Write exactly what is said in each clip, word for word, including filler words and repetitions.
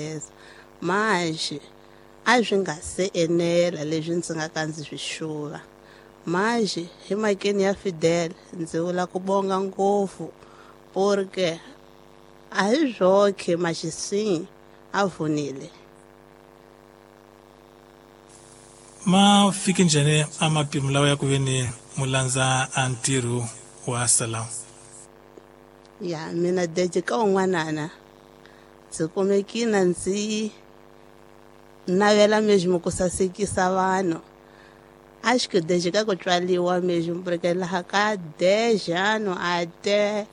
Beleza manje a swi nga se enela leswi ndzi nga ka ndzi swi xuva manje hi makeni ya Fidel ndzi vula ku bonga ngopfu porque a hi zwoke maxisini a vunile. Ma fike njhani a mapimo lawa ya ku ve ni mulandza a ntirho wa salon? Ya mina deje ka un'wanana ndzi kumekina ndzi navela mesmo ku sasekisa vanhu. Acho que desde ka ku tswaliwa mesmo porque laha ka dez anos até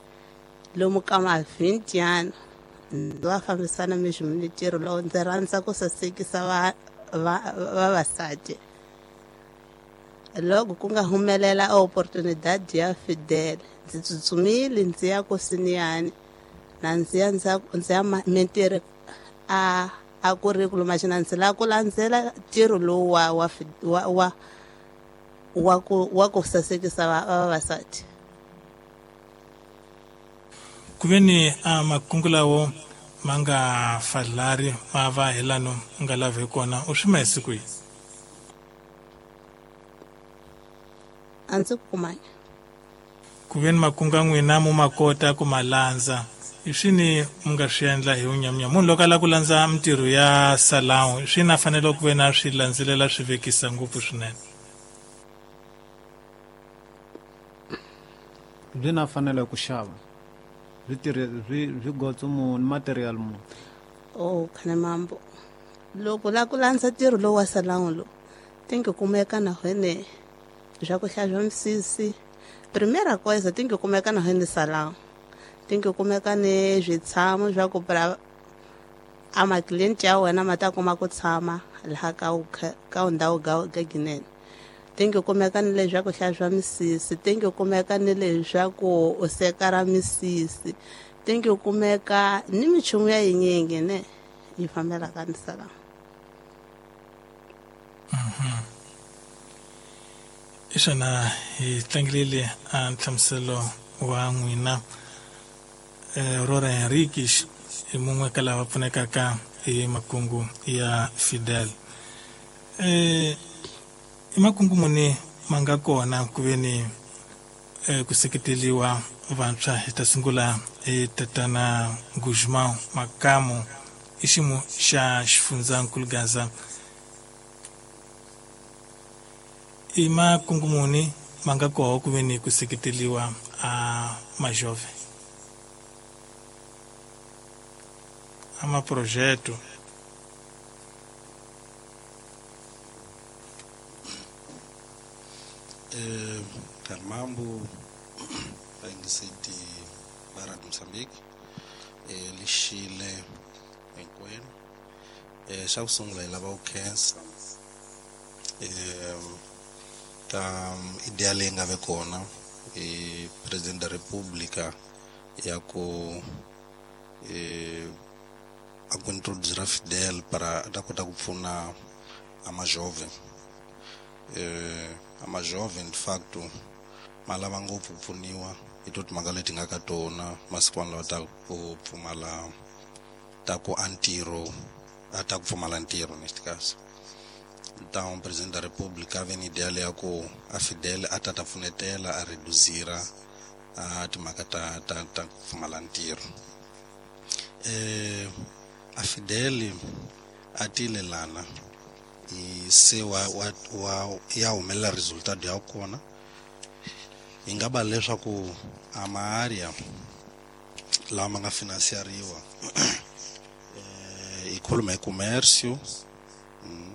lomu ka ma vinte anos ndzi va fambisana mesmo ni ntirho lowu ndzi rhandza ku sasekisa va vavasati. Loko ku nga humelela oportunidade ya Fidel ndzi tsutsumile ndzi ya kusiniyani na ndzi ya ndzi ya ndzi ya mintirho a a curriculum maxina ndzi lava ku landzela ntirho lowu wa wa wa wa wa ku wa ku sasekisa vavasati. Ku ve ni a makungu lawo ma nga falari ma va hi lano u nga lavi kona u swi ma hi siku yihi? A ndzi kumanga. Ku ve ni makungu ya n'wina mu ma kota ku ma landza i swini mu nga swi endla hi vunyamnyama? Munhu loko a lava ku landza mintirho ya salon swi na fanele ku ve na swi landzelela swi vekisa ngopfu swinene. Byi na fanele ku xava byi tirhe byi byi gotso muni material muni. Oh khane mambo loko la ku landza ntirho lowu wa salon lowu tingi kumeka na hene swa ku hlantswa misisi primeira coisa tingi kumeka na hene salon tingi kumeka ni switshamo swa ku pra a macliente ya wena ma ta kuma ku tshama laha ka ka ndhawu ga ginene. Tingi kumeka ni leswi swa ku hlantswa misisi tingi kumeka ni leswaku u sekara misisi tingi kumeka ni minchumu ya yinyingi ne yi fambelaka ni salon. I swona hi tlangelile a nhlamuselo wa n'wina Aurora Henriques i mun'we ka lava pfunekaka hi makungu ya Fidel. Eh i makungu muni ma nga kona ku ve ni ku seketeliwa vantshwa? Hi ta sungula hi tatana Guzmão Makamu i ximo xa xifundzankulu Gaza. I makungu muni ma nga koho ku ve ni ku seketeliwa a majove a maprojeto? Eh, Carmambo vaingiseti va Radio Mozambique eh lixile hinkwenu. Eh xa ku sungula hi lava ku khensa eh ka idea leyi nga ve kona hi President da República ya ku eh a ku introducir Fidel para a ta kota ku pfuna a majove. Eh a majove in facto ma lava ngopfu ku pfuniwa hi to timhaka leti nga ka tona masikwana lawa ta ku pfumala ta ku a ntirho a ta ku pfumala ntirho neste caso. Então Presidente da República ve ni idea leya ku a Fidel a ta ta pfunetela a reduzira a timhaka ta ta ta ku pfumala ntirho. Eh a Fidel a tile lana i se wa wa wa ya humelela resultado ya kona hi nga va leswaku a maarea lama ma nga financiariwa eh hi khuluma hi comércio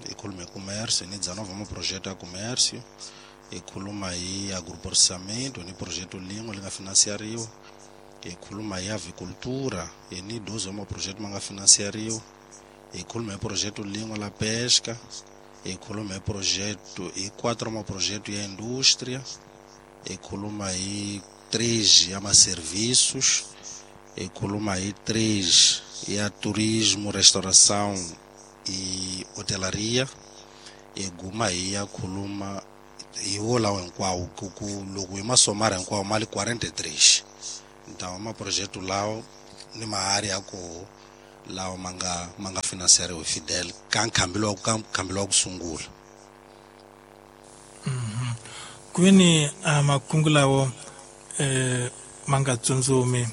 hi khuluma hi comércio ni dezenove maprojeto ya comércio hi khuluma hi agroprocessamento ni projeto lin'we li nga financiariwa hi khuluma hi avicultura hi ni doze wa maprojeto ma nga financiariwa hi khuluma hi projeto lin'we la pesca hi khuluma hi projeto hi quatro maprojeto ya indústria hi khuluma hi três ya maserviços hi khuluma hi três ya turismo restauração e hotelaria hi guma hi ya khuluma hi wo lawo hinkwawo ku ku loko hi masomara hinkwawo ma li quarenta e três. Então maprojeto lawo ni maárea ya koho lawa ma nga ma nga finanseriwa hi Fidel ka nkhambelo wa ka nkhambelo wa ku sungula. Mhm. Kuveni a makungu lawo eh ma nga tsundzumi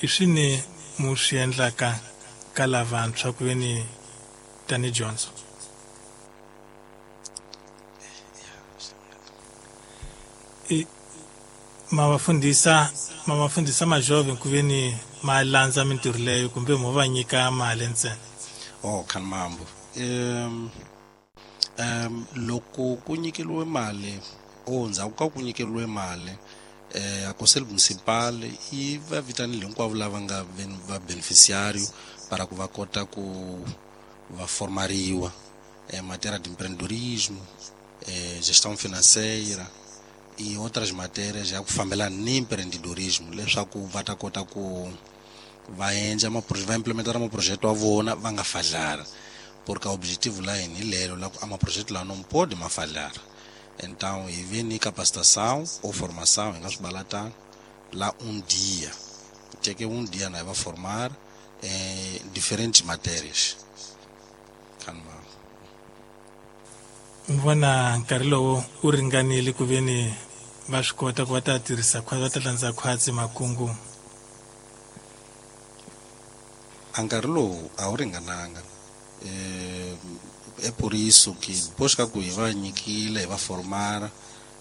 i swini mu swi endlaka ka lavantshwa kuveni tani dyondzo? I ma va fundisa ma va fundisa majove kuveni ma landza mintirho leyo kumbe mo va nyika mali ntsena? Oh, khanmambo. Um um loko ku nyikeliwe mali o ndzhaku ka ku nyikeliwe mali eh a conselho municipal yi va vitanile hinkwavo lava nga va beneficiário para ku va kota ku va formariwa em matéria de empreendedorismo, eh, gestão financeira e outras matérias ya ku fambelana ni empreendedorismo leswaku va ta kota ku va endla va implementar maprojeto wa vona va nga falhara, porque o objetivo lá é lelo lá a maprojeto lá não pode ma falhar. Então e vem ni capacitação ou formação em balatana lá um dia tinha que um dia na vai formar em diferentes matérias. Kanma vona nkarhi lowu wu ringanile ku veni va swi kota ku va ta tirhisa khwatsi va ta landza khwatsi makungu? A nkarhi lowu a wu ringananga. Eh, é por isso que depois ka ku hi va nyikile hi va formar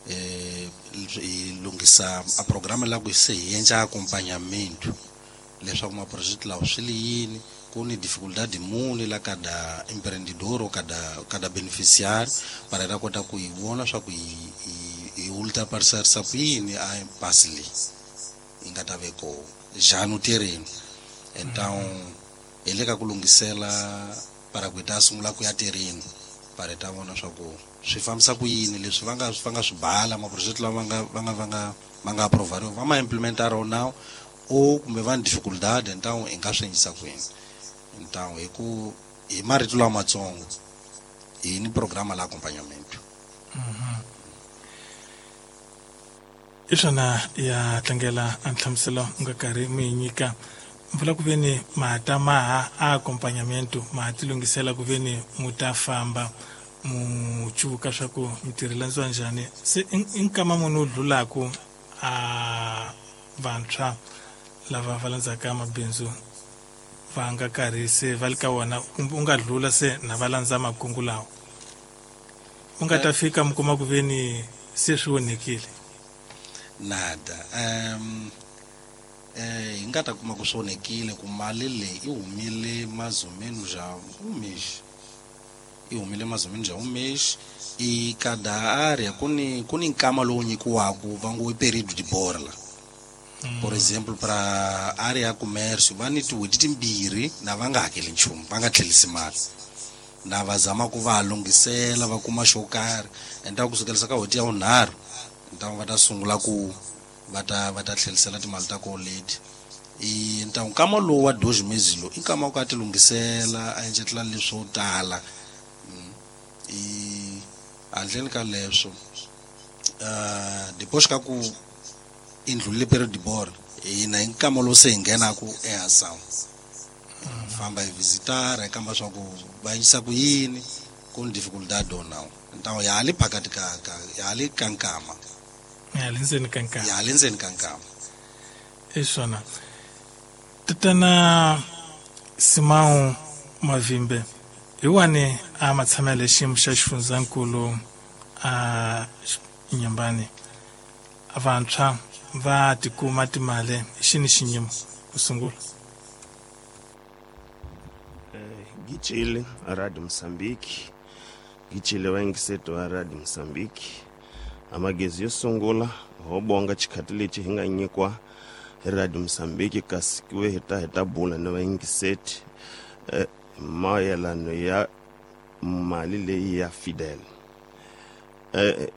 eh, hi lunghisa a programa la ku se hi endla acompanhamento leswaku maprojeto lawa swi li yini, ku ni dificuldade muni la kada empreendedor ou cada cada beneficiário para ta kota ku hi vona swa ku hi hi ultrapassarisa ku yini a impasse leyi yi nga ta ve kona já no terreno. Então hi le ka ku lunghisela para ku hi ta sungula ku ya terreno para hi ta vona swa ku swi fambisa ku yini leswi va nga va nga swi bala maprojeto lama va nga va nga va nga ma nga aprovariwa va ma implementara now ou kumbe va ni dificuldade, então hi nga swi endlisa ku yini. Então hi ku hi marito lamatsongo hi ni programa la acompanhamento. I swona ya tlangela a nhlamuselo u nga karhi mi yi nyika mpfula ku veni ma ta maha a acompanhamento ma ti lunghisela ku veni mu ta famba mu cuvuka swa ku mintirho landziwa njhani se i nkama munhu wu dlulaku a vantshwa lava va landzaka mabindzu va nga karhi se va le ka wona kumbe u nga dlula se na va landza makungu lawa u nga ta fika mi kuma ku veni se swi onhekile? Nada. Um eh hi nga ta kuma ku swi onhekile ku mali leyi i humile mais ou menos já um mês, i humile mais ou menos já um mês e cada área ku ni ku ni nkama lowu nyikiwaku va ngo i período de borla. Por exemplo, para área ya comércio va ni tin'hweti timbirhi na va nga hakeli nchumu, va nga tlherisi mali na va zama ku va lunghisela va kuma xo karhi. Endzhaku kusukelisa ka n'hweti ya vunharhu então va ta sungula ku va ta va ta tlherisela timali ta koho leti. I então nkama lowu wa dois meses lowu i nkama ku a ti lunghisela a endletela leswo tala. I handleni ka leswo uh, depois ka ku i ndlulile período de borla hina hi nkama lowu se hi nghenaku eação famba hi visitar hi kamba swa ku va endlisa ku yini ku ni dificuldade ou não. Então ya ha li phakathi ka ka ya ha li ka nkama ya le ndzeni ka nkama ya ha le ndzeni ka nkama. I swona. Tatana Simão Mavimbe hi wani a ma tshamela xiyimo xa xifundzankulu a Nyambani vantshwa va tikuma timali xini xinyimo ku sungula? Gitshile Radio Mozambique, gitshile vayingiseti va Radio Mozambique. Amagezi yo sungula ho bonga xikhati lexi hi nga nyikiwa hi Radio Mozambique kasi ku ve hi ta hi ta bula na vayingiseti eh, mayelano ya mali leyi ya Fidel. Eh,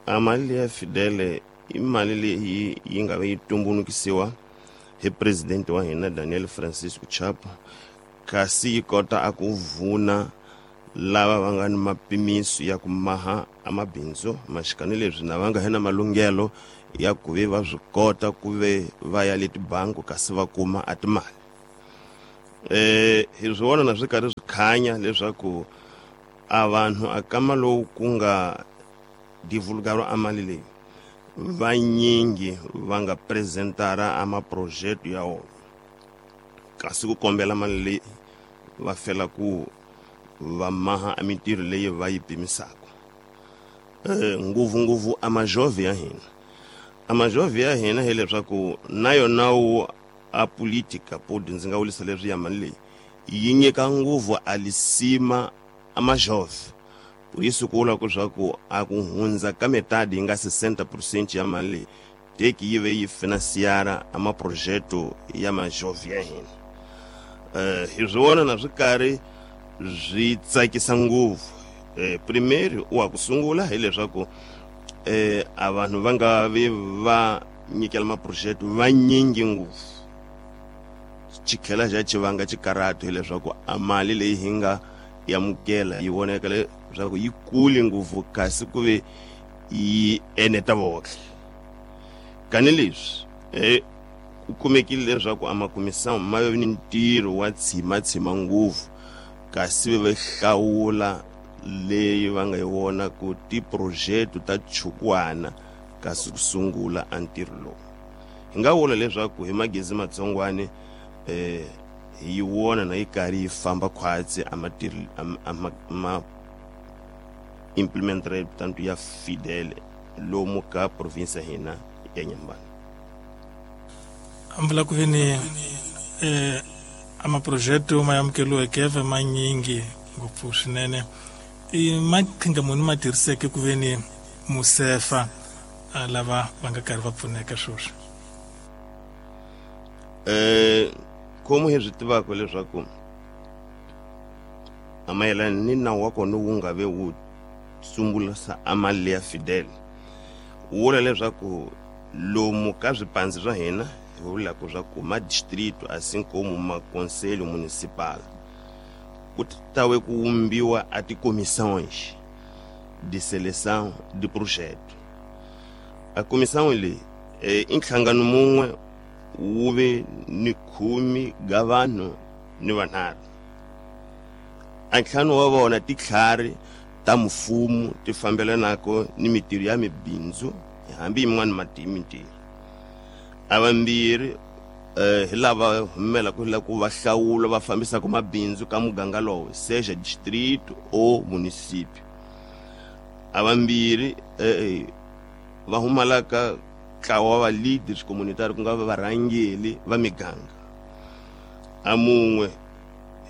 a mali leyi ya Fidel i mali leyi yi nga ve yi tumbulukisiwa hi president wa hina Daniel Francisco Chapo, kasi yi kota a ku vuna lava va nga ni mapimiso ya ku maha a mabindzu maxikani leswi na va nga hina malunghelo ya ku ve va swi kota ku ve va ya le tibangi kasi va kuma a timali. Eh hi swi vona na swi karhi swi khanya leswaku a vanhu a kama lowu ku nga divulgaro a mali leyi vanyingi va nga presentara a maprojeto ya wona kasi ku kombela mali leyi va fela ku va maha a mintirho leyi va yi pimisaka eh ngopfungopfu a majove ya hina a majove ya hina hileswaku na yona wu a politika podi ndzi nga vulisa leswi ya mali leyi yi nyika ngopfu a lisima a majove por isso ku vula ku swa ku a ku hundza ka metade yi nga sessenta por cento ya mali leyi teki yi ve yi financiara a maprojeto ya majove ya hina. Eh hi swi vona na swi karhi swi tsakisa ngopfu. Eh primeiro wa ku sungula hileswaku eh a vanhu va nga vi va nyikela maprojeto vanyingi ngopfu xikhela xa xivanga xikarhatu hileswaku a mali leyi hi nga yamukela yi voneka leswaku yi kule ngopfu kasi ku ve yi eneta vohle kani leswi eh ku kumekile leswaku a makumisamo ma ve ni ntirho wa tshimatshima ngopfu kasi ve hlawula leyi va nga yi vona ku tiprojeto ta chukwana kasi ku sungula a ntirho lowu hi nga vula leswaku hi magezi matsongwane eh hi yi vona na yi karhi yi famba khwatsi a matirhi ma implementere tanto ya fidele lomu ka province ya hina ya Inhambane. Amvula ku veni eh amaprojeto ma amukeliweke ve manyingi ngopfu swinene i maqhinga muni ma tirhiseke ku veni musefa lava va nga karhi va pfuneka sweswi? Eh como hi swi tivaka leswaku a mayelana ni nawu wa kona wu nga ve wu sungulisa a mali ya fidel wu vula leswaku lomu ka swipandzi swa hina hi vulaka swa ku ma distrito assim como ma conselho municipal ku tawe ku vumbiwa a ticomissões de seleção de projeto. A comissão leyi i nhlangano mun'we wu ve ni khume ga vanhu ni vanharhu a ntlhanu wa vona titlhari ta mfumo ti fambelanaka ni mintirho ya mibindzu hambi yin'wana mati mintirho a vambirhi eh hi lava humelaka la ku va hlawula va fambisaka mabindzu ka muganga lowo seja distrito ou município a vambirhi eh va humalaka ntlawa wa leaders communitary ku nga va varhangeli va miganga a mun'we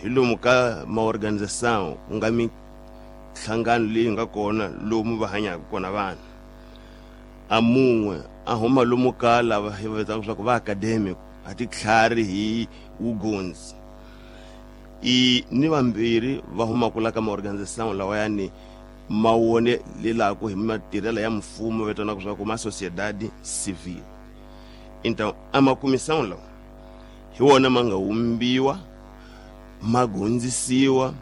hi lomu ka maorganização ku nga minhlangano leyi nga kona lomu va hanyaka kona vanhu a mun'we a huma lomu ka lava hi va vitanaka leswaku va academic a titlhari hi vugondzi i ni vambirhi va humaka la ka maorganização lawayani ma wone lelaku hi matirhelo ya mfumo vitanaka leswaku ma sociedade civil. Então a makumisão lawa hi wona ma nga vumbiwa ma gondzisiwa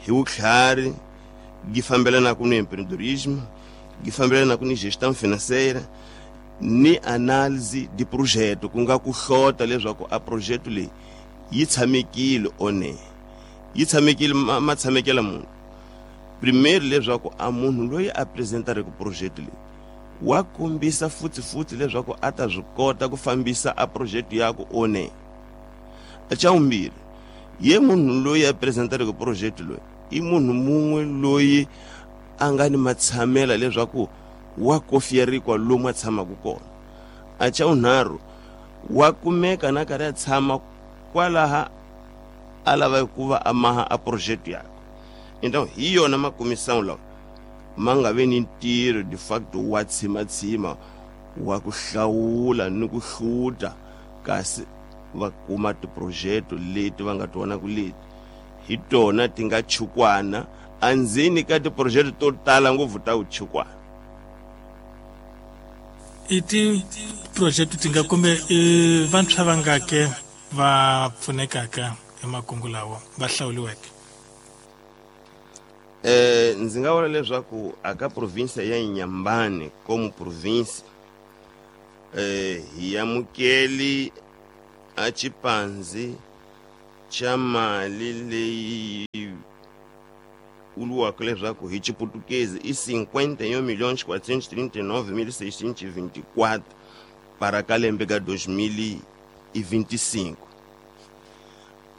hi vutlhari gi fambelanaka ni empreendedorismo gi fambelanaka ni gestão financeira ni análise de projeto ku nga ku hlota leswaku a projeto leyi yi tshamekile one yi tshamekile ma tshamekela munhu primeiro leswaku a munhu loyi a apresentareke projeto leyi wa kombisa futhi futhi leswaku a ta swi kota ku fambisa a projeto yaku one xa vumbirhi ye munhu loyi a apresentareke projeto loyi i munhu mun'we loyi a nga ni matshamela leswaku wa kofierikwa lomu a tshamaka kona a xa vunharhu wa kumeka na karhi a tshama kwalaha a lava ku va a maha a projeto yakwe. Então hi yona makumisão lawa ma nga ve ni ntirho de facto wa tshimatshima wa ku hlawula ni ku hluta kasi va kuma tiprojeto leti va nga ti vonaka leti hi tona ti nga chukwana andzeni ka tiprojeto to tala ngopfu ta vuchukwana. I tiprojeto ti nga kumbe i vantshwa va nga ke va pfunekaka hi makungu lawa va hlawuliweke? Eh ndzi nga vula leswaku aka province ya Inhambane como province eh hi amukeli a Chipanzi xa mali leyi vuriwaka leswaku hi Xiputukezi i cinquenta e um milhões quatrocentos e trinta e nove mil seiscentos e vinte e quatro para ka lembe ka dois mil e vinte e cinco.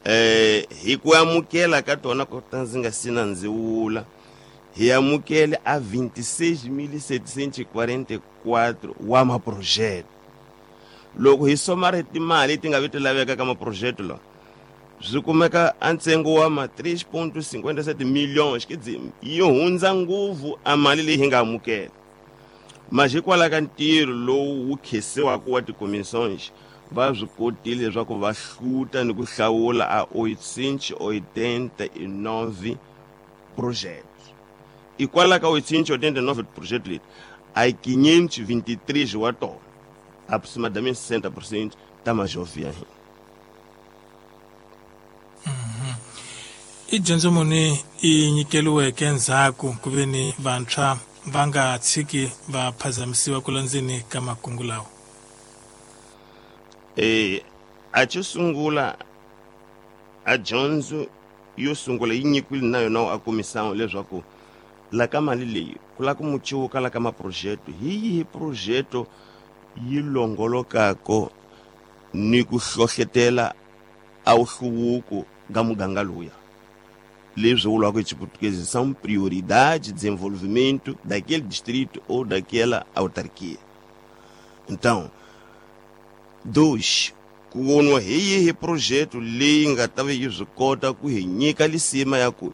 Eh, hi ku amukela ka tona ku ta ndzi nga si na ndzi vula, hi amukele a vinte e seis mil setecentos e quarenta e quatro wa maprojeto. Loko hi somare timali ti nga vi ti laveka ka maprojeto lawa, swi kumeka a ntsengo wa ma três ponto cinquenta e sete milhões, quer dizer, yi hundza ngopfu a mali leyi hi nga amukela. Mas hikwalaho ka ntirho lowu wu khensiwaka wa tikomissões, va swi kotile leswaku va hluta ni ku hlawula a oitocentos e oitenta e nove projetos. Hikwalaho ka oitocentos e oitenta e nove projetos leti, a quinhentos e vinte e três wa tona, aproximadamente sessenta por cento ta majovem ya hina. I dyondzo muni i nyikeriweke endzhaku ku ve ni vantshwa va nga tshiki va phazamisiwa ku landzeni ka makungu lawa? Eh, a xo sungula a dyondzo yo sungula yi nyikiwile na yona a comissão leswaku la ka mali leyi ku lava ku muciwuka la ka maprojeto, hi yihi projeto yi longolokako ni ku hlohletela a wuhluvuko ka muganga luya. Leswi vuriwaka hi Xiputukezi são prioridades de desenvolvimento daquele distrito ou daquela autarquia. Então, dois, ku voniwa hi yihi projeto leyi nga ta va yi swi kota ku hi nyika lisima ya ku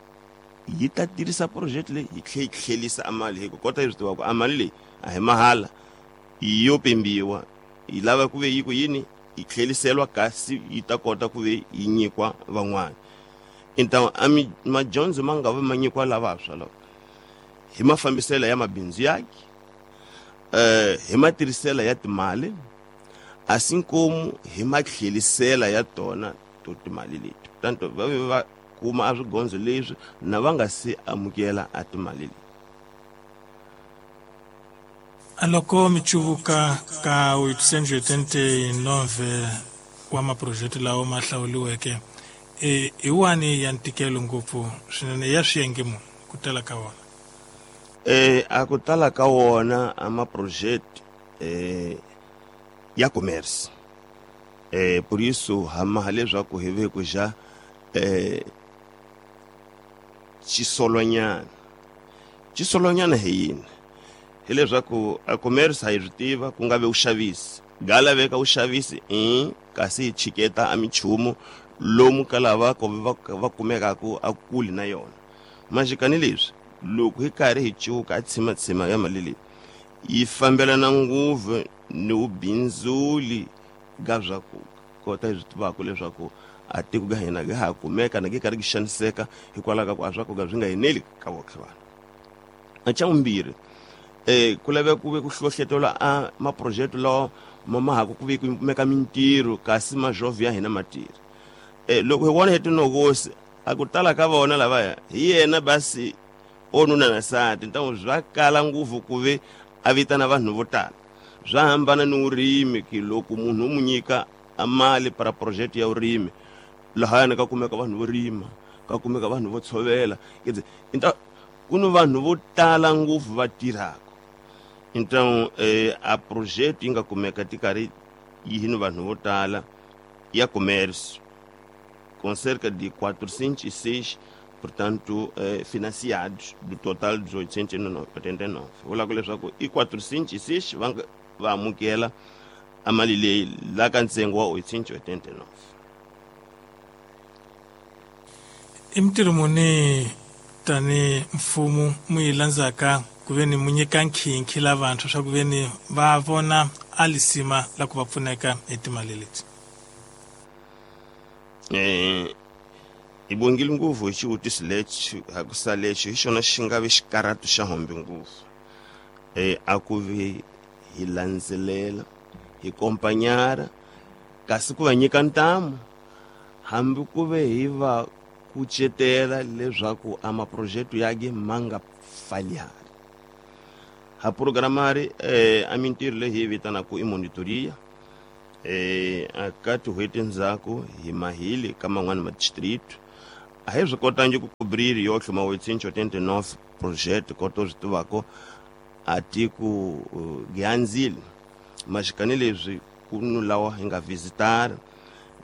yi ta tirhisa projeto leyi yi tlhe yi tlhelisa a mali, hi ku kota hi swi tiva ku a mali leyi a hi mahala, yo pimbiwa, yi lava ku ve yi ku yini yi tlheliseriwa kasi yi ta kota ku ve yi nyikiwa van'wana. Então a mi madyondzo ma nga va ma nyikiwa lavantshwa lava hi mafambiselo ya mabindzu yake, eh, hi matirhiselo ya timali, assim como hi matlhelisela ya tona to timali leti. Tanto va ve va kuma a swigondzo leswi na va nga se amukela a timali leti. Loko mi cuvuka ka oitocentos e oitenta e nove wa maprojeto lawa ma hlawuriweke, e hi wani ya ntikelo ngopfu swinene ya swiyenge muni ku tala ka wona? Eh, a ku tala ka wona a maprojeto eh, ya commerce. Eh, por isso hama leswaku hi ve ku ja eh, xisolonyana. Xisolonyana hi yini? Hileswaku a commerce ha yi swi tiva ku nga ve vuxavisi, ga laveka vuxavisi i kasi hi chiketa a minchumu lomu ka lava ko va va kumekaka a kuli na yona. Maxikani leswi loko hi karhi hi cuka a tshimatshima ya mali leyi yi fambelana ngopfu ni vubindzuli ga swa ku kota hi swi tivaka leswaku a tiko ga hina ga ha kumeka na gi karhi gi xaniseka hikwalaho ka ku a swa ku ga swi nga eneli ka votlhe vanhu. A xa vumbirhi, eh, ku laveka ku ve ku hlohletela a maprojeto lawa ma ma ha ku ku ve ku kumeka mintirho kasi majovhe ya hina ma tirha. Eh, loko hi vona hi tinokosi a ku tala ka vona lavaya hi yena basi onuna na nsati, então swa kala ngopfu ku ve a vitana vanhu vo tala. Swa hambana ni vurimi, ki loko munhu u n'wi nyika a mali para project ya vurimi, lahayani ka kumeka vanhu vo rima, ka kumeka vanhu vo tshovela, quer dizer, então ku ni vanhu vo tala ngopfu va tirhaka. Então eh, a projeto yi nga kumeka ti karhi yi ni vanhu vo tala ya comércio com cerca de quatrocentos e seis, portanto, eh, financiados do total dos oitocentos e oitenta e nove. Vula ku leswaku i quatrocentos e seis va nga va amukela a mali leyi la ka ntsengo wa oitocentos e oitenta e nove. I mintirho muni tani mfumo mu yi landzaka ku ve ni mu nyika nkhinkhi lavantshwa swa ku ve ni va vona a lisima la ku va pfuneka hi timali leti? Eh, hi bongile ngopfu hi xivutiso lexi, hakusa lexi hi xona xi nga ve xikarhatu xa hombe ngopfu. Eh, a ku ve hi landzelela, hi kompanyara, kasi ku va nyika ntamu, hambi ku ve hi va kucetela leswaku a maprojeto yake ma nga falhari. Ha programari eh, a mintirho leyi hi yi vitanaka i monitoria. Eh aka tin'hweti ndzhaku hi mahile ka man'wana ma distrito a hi swi kotangi ku cobrir yohle ma oitocentos e oitenta e nove projeto koto swi tivako a tiko gianzile maxikani leswi ku nu lawa hi nga visitar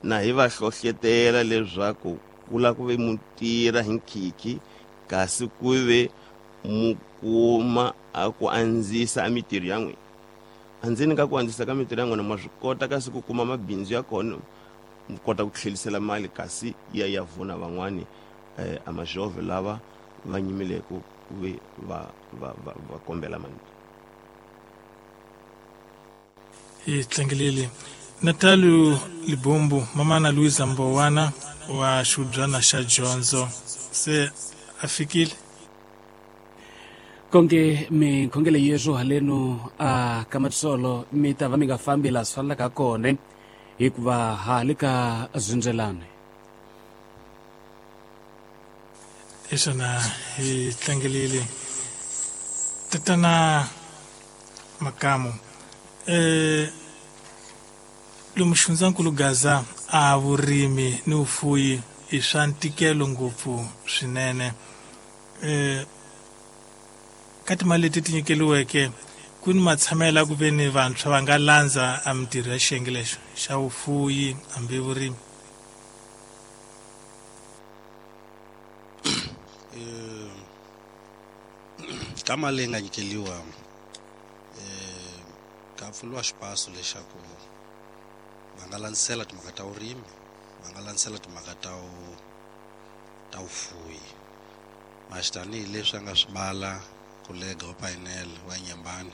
na hi va hlohletela leswaku ku la ku ve mutira hi nkhikhi kasi ku ve mukuma a ku andzisa a mitirho ya n'wina andzeni ka ku andzisa ka mitirho ya n'wina ma swi kota kasi ku kuma mabindzu ya kona mi kota ku tlhelisela mali kasi ya ya vuna van'wani eh, a majove lava va nyimileke ku ve va va va va kombela mali. Hi tlangelele Natalio Libombo mamana Luisa Mbowana wa xubyana xa dyondzo se a fikile konke minkhongelo yeswo haleno a ka matsolo mi ta va mi nga fambi la swi fanelaka kona hikuva ha le ka zindzelane. Esona hi tlangelele tatana Makamu eh lomu xifundzankulu Gaza a vurimi ni vufuyi i swa ntikelo ngopfu swinene eh ka timali leti ti nyikeliweke ku ni matshamela ku ve ni vantshwa va nga landza a mitirho ya xiyenge lexo xa vufuyi hambi vurimi. Ka mali leyi nga nyikeliwa eh ka pfuriwa xipaso lexaku va nga landzisela timhaka ta vurimi, va nga landzisela timhaka ta ta vufuyi. Maxi tanihileswi a nga swi vala kolega wa painel wa Nyembani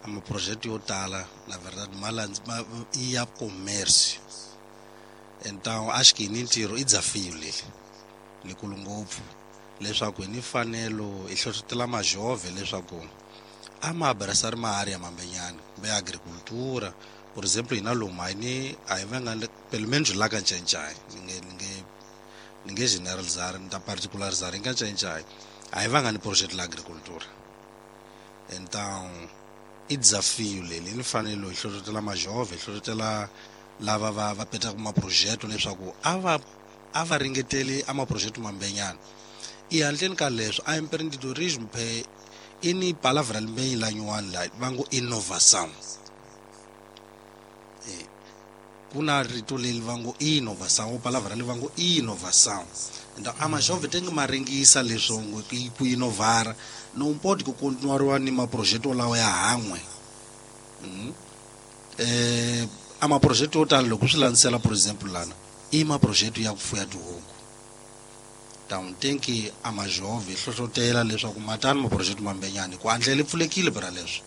a maproject yo tala na verdade ma ma i ya commerce então acho que ni ntirho i desafio leli likulu ngopfu leswaku hi ni fanelo hi hlohlotela majove leswaku a ma abraçar ma área mambenyana kumbe agricultura. Por exemplo hina lomu a hi ni a hi vanga pelo menos la ka Ncayincai ni nge ni nge ni nge generalizar ni ta particularizar hi ka Ncayincai a hi vanga ni projeto la agricultura. Então i desafio leli ni fanelo hi hlohlotela majove hi hlohlotela lava va va petaka maprojeto leswaku a va a va ringeteli a maprojeto mambenyana. I handleni ka leswo a empreendedorismo phe i ni palavra limbenyi la nyuwani la va ngo innovação. Eh ku na rito leri va ngo innovação palavra leri va ngo innovação. Então a majove tem que maringisa leswo ngo ku innovara não pode ku continuar ni maprojeto lawa ya han'we. Mm. Eh a maprojeto yo tala loko swi landzela por exemple lana i maprojeto ya ku fuya tihuku. Então tem que a majove hlohlotela leswaku matani maprojeto mambenyana ku andlela pfulekile bra leswi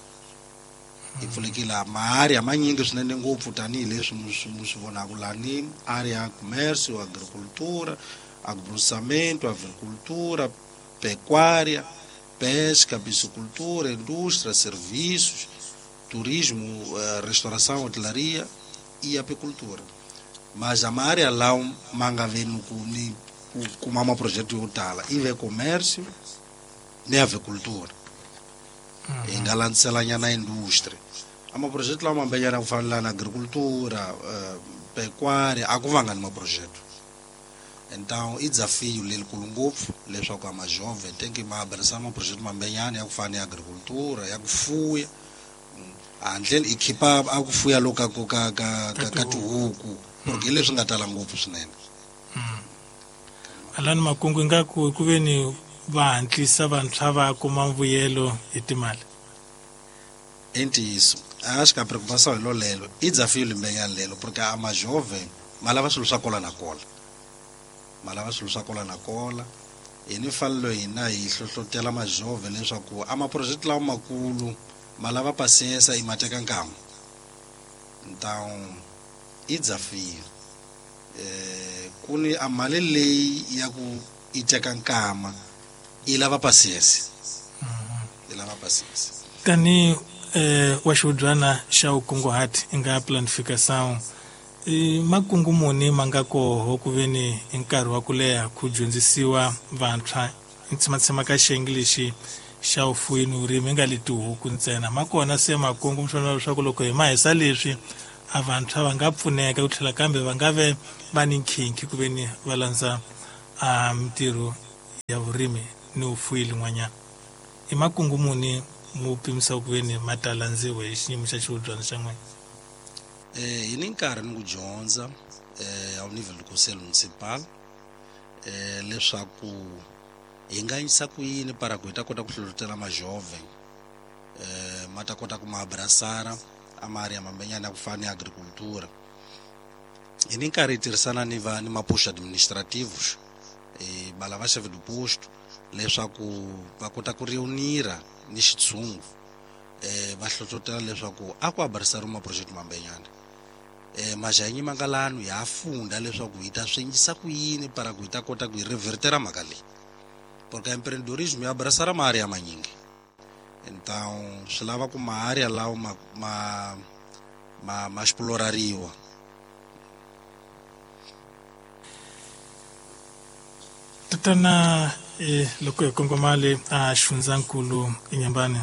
i pfulekile maarea manyingi swinene ngopfu tanihileswi mu swi vonaka lani area ya commerce, agricultura, agroprocessamento, avicultura, pecuária, pesca, piscicultura, indústria, serviços, turismo, restauração, hotelaria e apicultura. Mas a área lá manga vendo ku ni kuma maprojeto yo tala i ve comércio ni avicultura. Hi nga landzelanyana industry a maprojeto lawa mambenyana ku fana na agricultura, pecuária a ku vanga ni maprojeto. Então i desafio lelikulu ngopfu leswaku a majove tem que ma abraçar maprojeto mambenyana ya ku fana ni agricultura ya ku fuya handle i khipa a ku fuya loka ka ka ka ka tihuku porque hi leswi nga tala ngopfu swinene. Alani makungu ingaku ku ve ni va hatlisa vantshwa va kuma mbuyelo hi timali. I ntiyiso a xi ka preocupação hi lolelo i desafio limbenyana lelo porque a majove ma lava swilo swa kola na kola ma lava swilo swa kola na kola. Hi ni fanelo hina hi hlohlotela majove leswaku a maproject lawa makulu ma lava paciência i ma teka nkama. Então i desafio eh ku ni a mali leyi ya ku i teka nkama i lava paciência i lava paciência. Tani eh wa xiudyana xa ukunguhati i nga planificação i makungu muni ma nga koho ku ve ni hi nkarhi wa ku leha ku dyondzisiwa vantshwa i tshamatshama ka xiyenge lexi xa vufuyi ni vurimi i nga le tihuku ntsena ma kona se makungu mi swi vona leswaku loko hi ma hisa leswi a vantshwa va nga pfuneka ku tlhela kambe va nga ve va ni nkhinkhi ku veni va landza a mintirho ya vurimi ni vufuwi lin'wanyana. I makungu muni mu pimisa ku veni ma ta landziwa hi xiyimo xa xihubyana xa n'wina? Eh hi ni nkarhi ni ku dyondza eh ao nível do conselho municipal eh leswaku hi nga yisa ku yini para ku hi ta kota ku hlohlotela majovem eh ma ta kota ku ma abraçar a ma área mambenyana ya ku fana ni agricultura. Hi ni nkarhi hi tirhisana ni va ni maposto administrativos eh bala va chefe do posto leswaku va kota ku reunira ni xitshungu eh va hlohlotela leswaku a ku abraçar ma project mambenyana eh majanyi mangalano ya funda leswaku hi ta swi endlisa ku yini para ku hi ta kota ku hi revertera mhaka leyi, porque empreendedorismo ya abraçar ma área manyingi. Então swi lava ku ma área lawo ma ma ma, ma explorariwa. Tatana eh loko hi kongoma le a xifundzankulu Inhambane,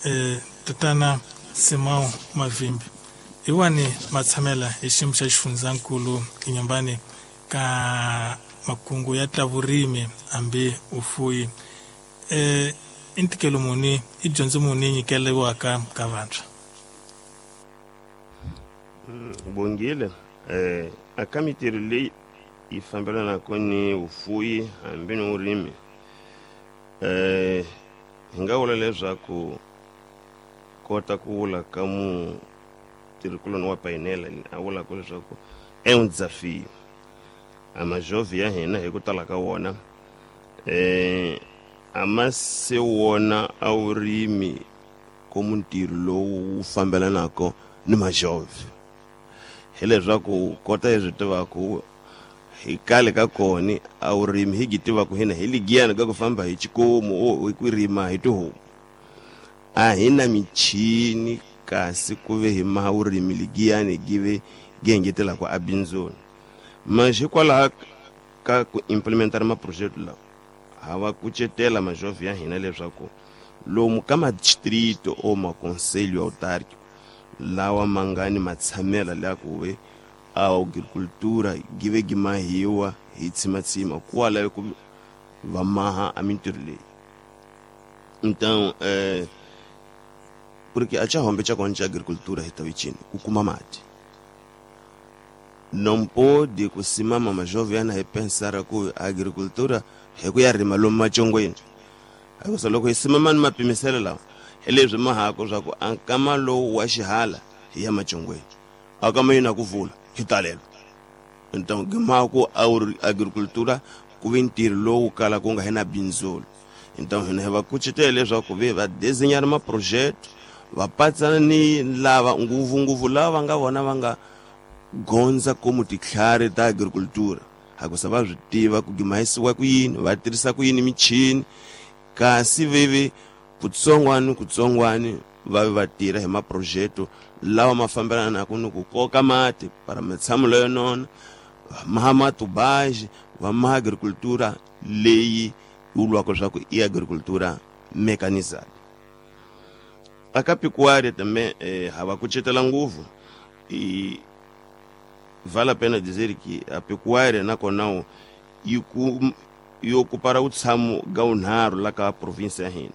eh tatana Simão Mavimbi, hi wani matshamela hi xiyimo xa xifundzankulu Inhambane ka makungu ya ta vurimi hambi ufuyi, eh i ntikelo muni i dyondzo muni nyikeriwaka ka vantshwa? Bongile eh aka mintirho leyi yi fambelanaka ni vufuwi hambi ni vurimi, eh hi nga vula leswaku kota ku vula ka mutirhikuloni wa painela a vulaka leswaku é um desafio. A majovem ya hina hi ku tala ka wona eh a ma se wona a vurimi como ntirho lowu wu fambelanaka ni majovem, hileswaku kota hi swi tivaka hi kale ka kona a vurimi hi gi tivaka hina hi ligiyana ka ku famba hi xikomu o hi ku rima hi tihomu, a hi na michini kasi ku ve hi maha vurimi ligiyani gi ve gi engetelaka a bindzuni. Mas hikwalaho ka ku implementar maproject lawa ha va kucetela majovem ya hina leswaku lomu ka madistrito o maconselho autárquico lawa ma nga ni matshamela la ku ve a agricultura gi ve gi mahiwa hi tshimatsima kwala ku va maha a mintirho leyi. Então eh porque a xihombe xa kona xa agricultura hi ta vicini ku kuma mati. Não pode ku simama majovem yana hi pensar ku agricultura hi ku ya rima lomu macongweni, hikusa loko hi simama ni mapimiselo lawa hi leswi mahako swa ku a nkama lowu wa xihala hi ya macongweni a kama yina ku vula hi talelo. Então gimako a agricultura ku ve ntirho lowu kala ku nga hi na bindzulu. Então hina hi va kucetela leswaku ve va desenhar maprojeto va patsana ni lava ngopfungopfu lava va nga vona va nga gondza como titlhari ta agricultura, hakusa va swi tiva ku gimahisiwa ku yini, va tirhisa ku yini michini, kasi veve kutsongwani kutsongwani va ve va tirha hi maprojeto lawa ma fambelanaka ni ku koka mati para matshamo leyo nona, va maha matubaji, va maha agricultura leyi vuriwaka leswaku i agricultura mecanizada. Aka pecuária também eh, ha va kucetela ngopfu. E vale a pena dizer que a pecuária nakona yi ku yi ocupara vutshamo ga vunharhu la ka província ya hina.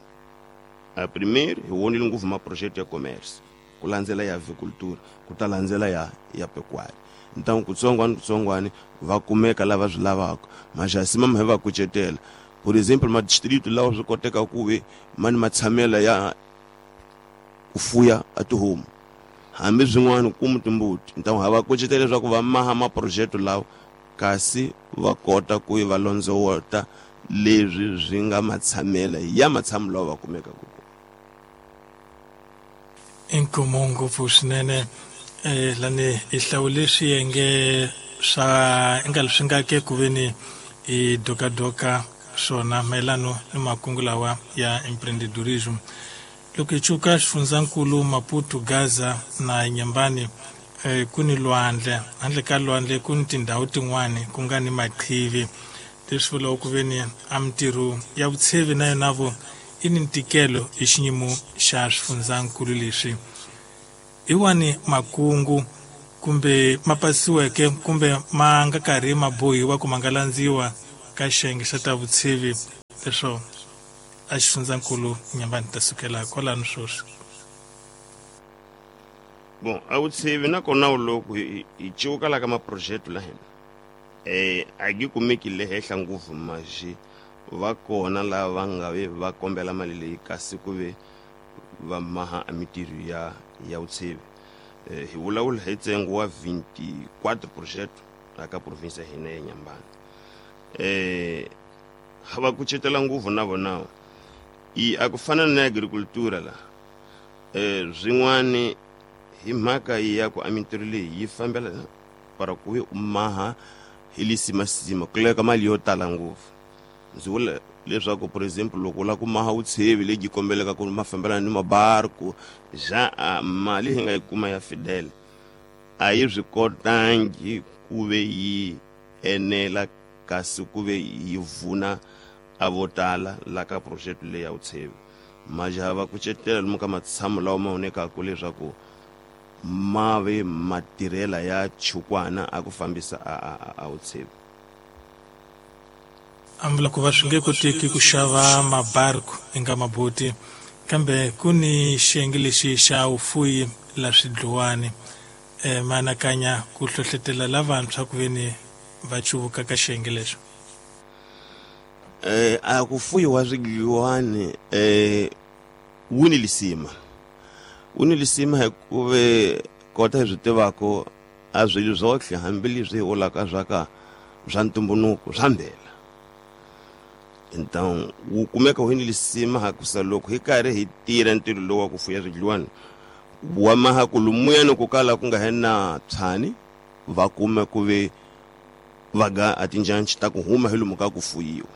A primeiro hi vonile ngopfu maprojeto ya commerce, ku landzela ya avicultura, ku ta landzela ya ya pecuária. Então kutsongwani kutsongwani va kumeka lava swi lavaka, mas a simama hi va kucetela. Por exemplo, madistrito lawa swi koteka ku ve ma ni matshamela ya ku fuya a tihomu hambi swin'wana kumu timbuti. Então ha va kucetela leswaku va maha maprojeto lawa kasi va kota ku va londzowota leswi swi nga matshamela ya matshamo lawa va kumekaka kona. Inkomo ngopfu swinene eh lani hi hlawule swiyenge swa nga leswi nga ke ku veni hi dokadoka swona mayelano ni makungu lawa ya empreendedorismo. Loko hi cuka xifundzankulu Maputo, Gaza na Inhambane, eh, ku ni lwandle, handle ka lwandle ku ni tindhawu tin'wani ku nga ni maqhivi, leswi vulaka ku veni a mintirho ya vutshevi na yona vo i ni ntikelo hi xiyimo xa swifundzankulu leswi. Hi wani makungu kumbe ma pasiweke kumbe ma nga karhi ma bohiwa ku ma nga landziwa ka xiyenge xa ta vutshivi leswo a xifundzankulu Nyambani ta sukela kwalano sweswi. Bon, a vutshivi nakona loko hi civuka la ka maproject la hina eh a gi kumeki le henhla ngopfu maxi va kona lava nga ve va kombela mali leyi kasi ku ve va maha a mitirho ya ya vutshivi. Eh, hi vulavula hi ntsengo wa vinte e quatro project aka province ya hina ya Nyambani. Eh va kucetela ngopfu na vona i a ku fana na agricultura la eh swin'wani hi mhaka ya ku a mintirho leyi yi fambela para ku ve u maha hi lisimasima ku laveka mali yo tala ngopfu. Ndzi vula leswaku por exemple loko u lava ku maha vutshevi lebyi kombeleka ku ma fambelana ni mabarku ja a mali hi nga yi kuma ya Fidel a yi swi kotangi ku ve yi enela kasi ku ve yi vuna a vo tala la ka project leyi ya vutshevi. Majaha va kucetela lomu ka matshamo lawa ma vonekaka leswaku ma ve matirhela ya chukwana a ku fambisa a, a, a vutshevi. A vula ku va swi nge koteki ku xava mabarku eka maboti kambe ku ni xiyenge lexi xa vufuyi la swidluwani e ma anakanya ku hlohletela lavantshwa ku ve ni va cuvuka ka xiyenge lexo. Eh a ku fuyiwa swidliwani eh wu ni lisima wu ni lisima hikuva kota hi swi tivaka a swilo swotlhe hambileswi hi vulaka swa ka swa ntumbuluko swa mbela. Então wu kumeka wu ni lisima hakusa loko hi karhi hi tirha ntirho lowu wa ku fuya swidliwani wa maha ku lumuyani ku kala ku nga he na tshani va kuma ku ve va ga a tinjanci ta ku huma hi lomu ka ku fuyiwa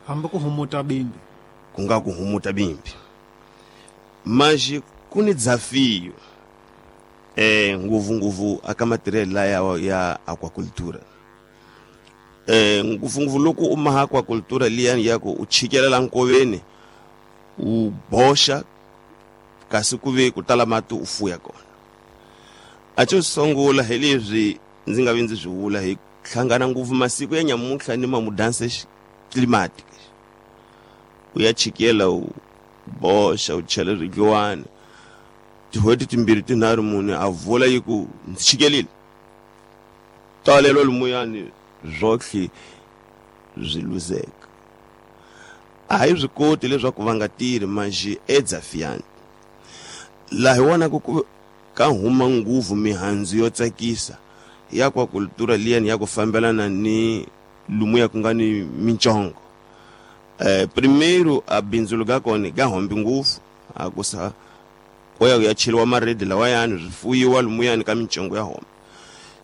hambi ku humuta bimbi ku nga ku humuta bimbi. Maxi ku ni desafio eh ngopfungopfu aka matirhelo laya ya aquacultura eh ngopfungopfu loko u maha aquacultura liyani ya ku u chikelela nkoveni u boxa kasi ku ve ku tala mati u fuya kona. A xo sungula hi leswi ndzi nga vi ndzi swi vula hi hlangana ngopfu masiku ya nyamuntlha ni mamudanse climatic u ya chikela u boxa u chela swidliwani tin'hweti timbirhi tinharhu mune a vula yi ku ndzi chikelile talelo lumuyani swotlhe swi luzeka. A hi swi koti leswaku va nga tirhi manjhe edzafiyani laha hi vonaka ku ka huma nguvu mihandzu yo tsakisa ya aquacultura liyani ya ku fambelana ni lumuya ku nga ni mincongo. Eh primeiro a bindzu ga kona ga hombi ngopfu a ku sa ko ya ya cheliwa maredi lawayani swi fuyiwa lumuyani ka mincongo ya homa.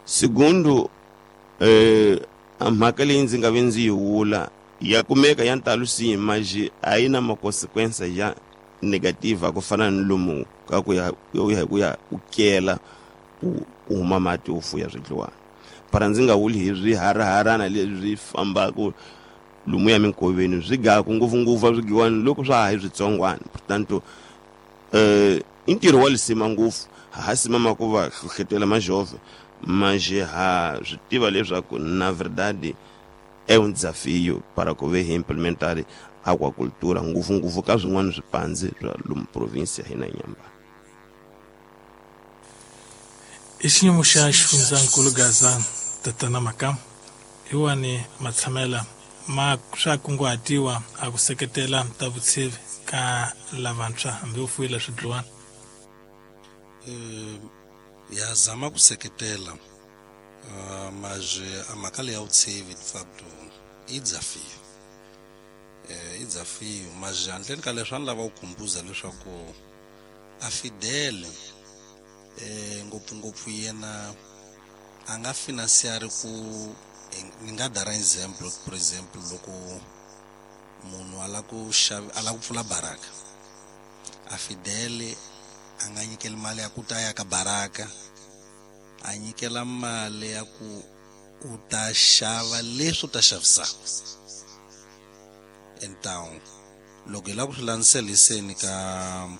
Segundo eh a mhaka leyi ndzi nga ve ndzi yi vula ya kumeka ya ntalo si maji a yi na makonsequensa ya negativa ku fana ni lomu ka ku ya ya ku ya u kela u huma mati u fuya swidliwani para ndzi nga vuli hi swiharaharana leswi fambaka lomu ya minkoveni swi gaku ngopfungopfu a swidliwani loko swa ha hi switsongwana. Portanto eh i ntirho wa lisima ngopfu ha simama ku va hlohletela majove manjhe ha swi tiva leswaku na verdade é um desafio para ku ve hi implementar aquacultura ngopfungopfu ka swin'wana swipandzi swa lomu province ya hina Nyambani. I xiyimo xa xifundzankulu Gaza tatana Makamu hi wani matshamela ma swa kunguhatiwa a ku seketela ta vutshivi ka lavantshwa hambi u fuyile swidliwani. Eh ya zama ku seketela uh, mas a mhaka leyi ya vutshivi de facto i desafio eh i desafio mas handleni ka leswi a ni lava ku khumbuza leswaku a Fidel eh ngopfungopfu yena a nga financiari ku ni nga dara example for example loko munhu a lava ku xava a lava ku pfula baraka a Fidel a nga nyikeli mali ya ku ta ya ka baraka a nyikela mali ya ku u ta xava leswi u ta xavisaka. Então loko hi lava ku swi landzeliseni ka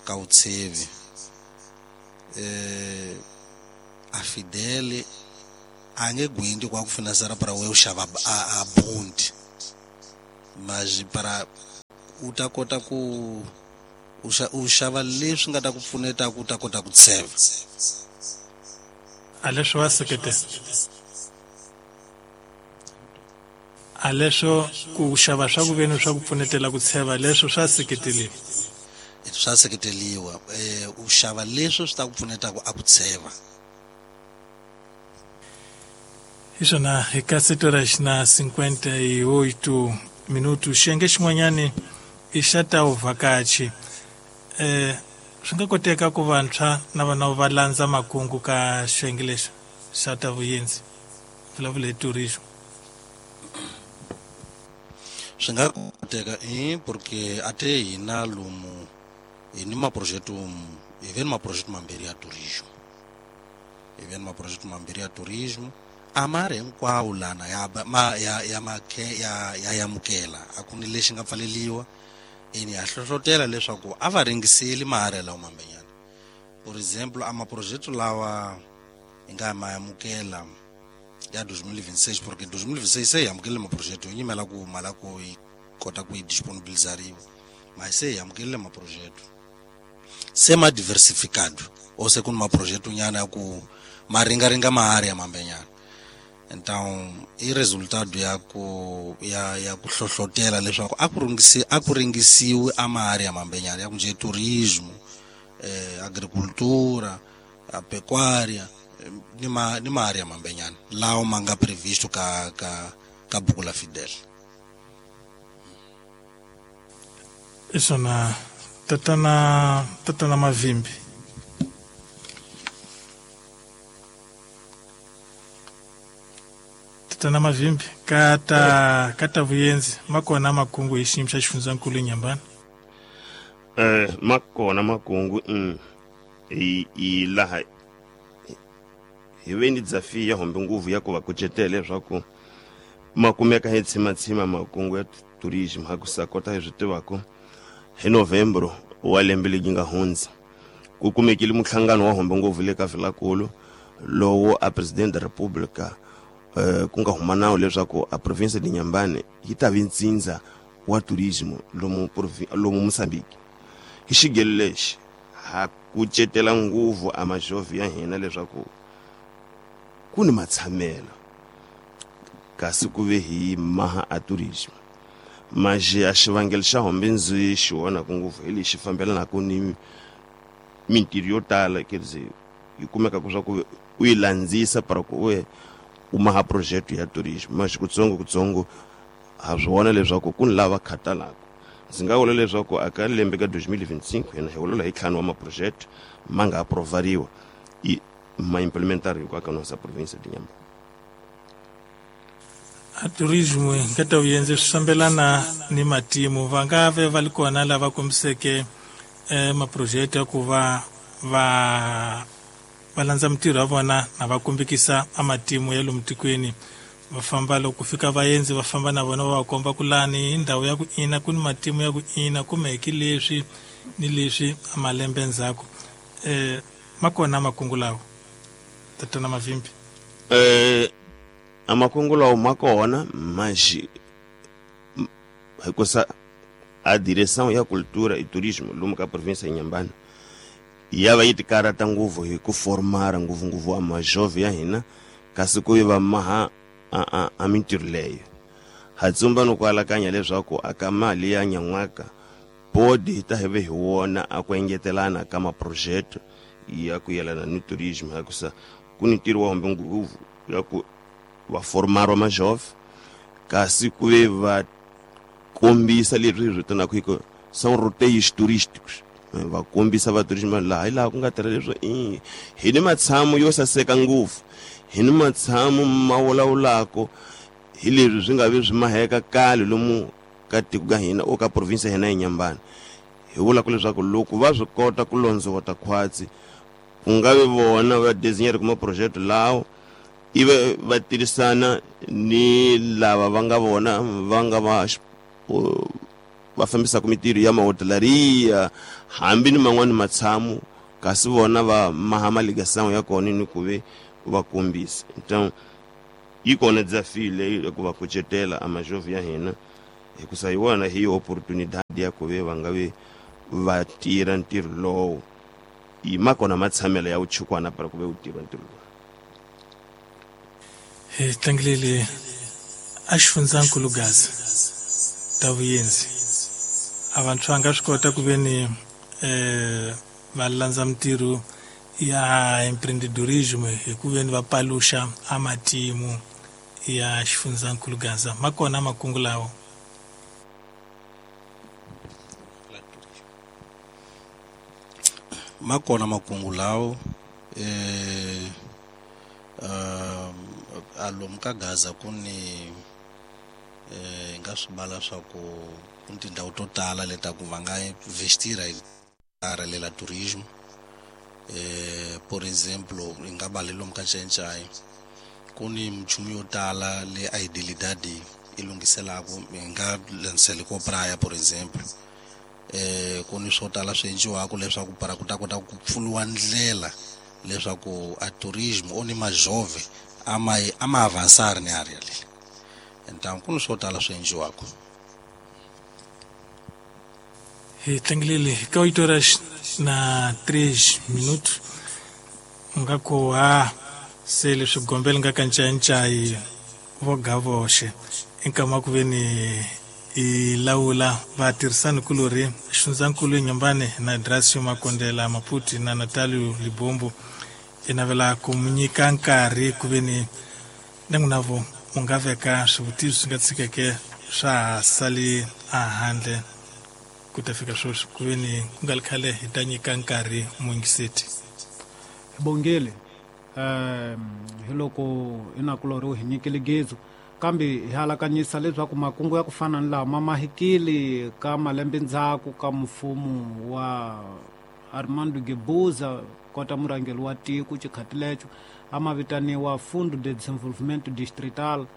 ka vutshevi eh A Fidel a nge gwindi kwa ku finansera para we u xava a, a bond mas para u ta kota ku u xava leswi nga ta ku pfuneta ku ta kota ku tsheva a leswo wa seketela a leswo ku xava swa ku veni swa ku pfunetela ku tsheva leswo swa seketeliwa swa seketeliwa eh u xava leswo swi ta ku pfuneta ku a ku tsheva Isona hi ka sete horas na cinquenta e oito minutos xiyenge xin'wanyani i xa ta vuvhakachi eh swi nga koteka ku vantshwa na vana va landza makungu ka xiyenge lexi xa ta vuyendzi vulavula hi tourism swi nga koteka i porque ate hina lomu hi ni maprojeto hi ve ni maprojeto mambirhi ya tourism hi ve ni maprojeto mambirhi ya tourism a ma ri hinkwawo lana ya ma ya ya makhe ya ya yamukela a ku ni lexi nga pfaleliwa ene ya hlohlotela leswaku a va ringiseli maharhi lawa mambenyana por exemplo a maprojeto lawa hi nga ma yamukela ya dois mil e vinte e seis porque dois mil e vinte e seis se hi amukelile maprojeto hi nyimela ku mali ku yi kota ku yi disponibilizariwa mas se hi amukelile maprojeto se ma diversificado ou se ku ni maprojeto nyana ya ku ma ringaringa maharhi ya mambenyana então i resultado ya ku ya ya ku hlohlotela leswaku a ku ringisi a ku ringisiwi a maharhi ya mambenyana ya ku nje turismo eh agricultura a pecuária ni ma ni maharhi ya mambenyana lawo ma nga previsto ka ka ka buku la Fidel isona tatana tatana Mavimbi tatana Mavimbi kata kata vuyenzi makona makungu hi xiyimo xa xifundzankulu Inhambane eh makona makungu mm i i laha hi ve ni desafio ya hombe nguvu ya ku va kucetela leswaku ma kumeka hi tshimatsima makungu ya tourism ha ku sa kota hi swi tivaka hi novembro wa lembe leri nga hundza ku kumekile muhlangano wa hombe nguvu le ka Vilakulu lowu a president da República eh ku nga huma nawu leswaku a province de Inhambane yi ta vi ntsindza wa tourism lomu lomu Mozambique hi xigelo lexi ha kucetela nguvu a majovi ya hina leswaku ku ni matshamelo kasi ku ve hi maha a tourism maje a xivangelo xa hombe ndzi xi vonaka ngopfu hi lexi fambelanaka ni mintirho yo tala quer dizer yi kumeka ku swa ku u yi landzisa para ku we u maha projeto ya tourism mas kutsongo kutsongo ha swi vona leswaku ku ni lava khatalaka ndzi nga vula leswaku aka lembe ka dois mil e vinte e cinco hina hi vulavula hi ntlhanu wa maproject ma nga aprovariwa i ma implementar hinkwayo ka nossa província de Inhambane a tourism ka ta vuyenzi swi fambelana ni matimu va nga ve va li kona lava kombiseke eh, maproject ya ku va va va landza mintirho ya vona na va kombekisa a matimu ya lomu tikweni va famba loko ku fika vaendzi va famba na vona va va komba ku lani hi ndhawu ya ku ina ku ni matimu ya ku ina kumeke leswi ni leswi a malembe ndzhaku eh ma kona makungu lawa tatana Mavimbi eh a makungu lawa ma kona mas hikusa a direção ya cultura e turismo lomu ka província ya Inhambane ya va yi tikarhata ngopfu hi ku formara ngopfungopfu a majove ya hina kasi ku yi va maha a a a mintirho leyo ha tsumba no ku alakanya leswaku aka mali ya nyan'waka bodi hi ta hi ve hi wona a ku engetelana ka maprojeto ya ku yelana ni tourism hikusa ku ni ntirho wa hombe ngopfu ya ku va formara majove kasi ku ve va kombisa leswi hi vitanaka hi ku são roteiros turísticos va kombisa va tourism laha hi laha ku nga tirha leswo i hi ni matshamo yo saseka ngopfu hi ni matshamo ma vulavulaka hi leswi swi nga vi swi maheka kale lomu ka tiko ka hina o ka province ya hina ya Inhambane hi vulaka leswaku loko va swi kota ku londzovota khwatsi ku nga vi vona va designer kuma project lawo ivi va tirhisana ni lava va nga vona va nga va va fambisaka mintirho ya mahotelaria hambi ni man'wani matshamo kasi vona va maha maligação ya kona ni ku ve va kombisa. Então yi kona desafio leyi ku va kucetela a majovem ya hina hikusa hi wona hi oportunidade ya ku ve va nga ve va tirha ntirho lowu yi ma kona matshamelo ya vuchukwana para ku ve u tirha ntirho lowu. Hi tlangilele a xifundzankulu Gaza ta vuyenzi a vantshwa nga swi kota ku ve ni eh va landza mintirho ya empreendedorismo hi ku ve ni va paluxa a matimu ya xifundzankulu Gaza ma kona makungu lawo. Ma kona makungu lawo eh uh, alomu ka Gaza ku ni eh nga swi vala swa ku ku ni tindhawu to tala leta ku va nga investira hi lela turismo. Eh por exemplo hi nga bali lomu ka Nchenchai ku ni minchumu yo tala le a idilidade yi lunghiselaku hi nga landziseli ko praia por exemplo. Eh ku ni swo tala swi endliwaka leswaku para ku ta kota ku pfuriwa ndlela leswaku a turismo o ni majove a ma a ma avançar ni area leyi. Então ku ni swo tala swi endliwaka. Hi tlangilele ka oito horas na três minutos nga ko ha se leswi gombela nga ka Ncayincai vo ga voxe nkama ku ve ni i lawula vatirhisani kulorhi xifundzankulu Inhambane na Dracio Makondela Maputi na Natalio Libombo i navela ku mu nyika nkarhi ku ve ni na n'wina vo mu nga veka swivutiso swi nga tshikeke swa ha sali a handle ku ta fika sweswi ku ve ni ku nga ri khale hi ta nyika nkarhi muyingiseti. Bongile um hi loko inakulorhi hi nyikile gezu kambe hi alakanyisa leswaku makungu ya ku fana ni lawa ma mahikile ka malembe ndzhaku ka mfumo wa Armando Guebuza kota murhangeri wa tiko xikhati lexo a ma vitaniwa Fundo de Desenvolvimento Distrital.